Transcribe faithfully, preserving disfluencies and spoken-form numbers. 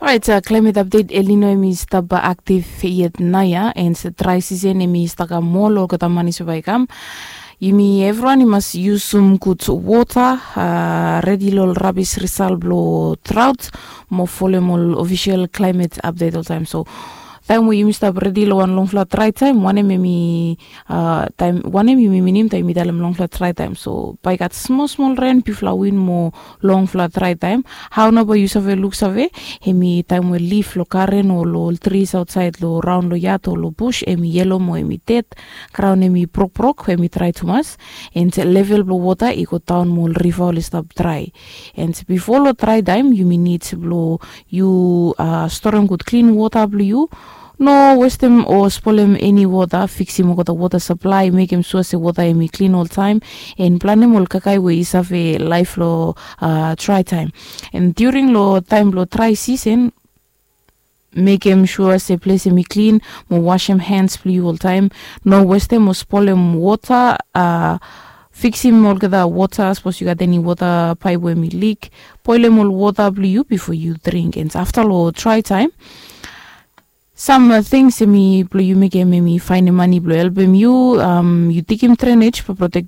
Orait, klaimet apdet elino em i stap aktiv yet nao ya, and drai sisen em i stap kam mol olgeta man i save bai kam. Yumi evriwan i mas yusum gud wota, redi long ol rabis risal blong traut, mo folem ol ofisel klaimet apdet oltaim. So taim we yumi stap redi long wan longfala drai taim, wanem em i taim wanem yumi minim taim yumi talem longfala drai taim? So bai gat smol smol ren, bifala win mo longfala drai taim. Hao nao bai yu save luksave? Em i taim we lif long garen o long ol tris aotsaed long raon long yat o long bus em i yelo mo em i ded, graon em i brokbrok, em i drai tumas, and level blong wota i go daon mo ol riva oli stap drai. And bifo long drai taim yumi nid blong yu storem gud klin wota blong yu. No westem o spolem eni wota, fiksim olgeta wota saplai, mekem sua se wota em i klin oltaim, and planem ol kaikai we i save laef long drai taim. And diuring long taim blong drai sisen, mekem sua se ples em i klin, mo wasem hens blong yu oltaim. No westem o spolem wota. Fiksim olgeta wota, sapos yu gat eni wota paip we em i lik, boelem ol wota blong yu bifo yu dring. And afta long drai taim, sam tings em i blong yu mekem em i faenem mane blong helpem yu. Yu digim drenej blong protektem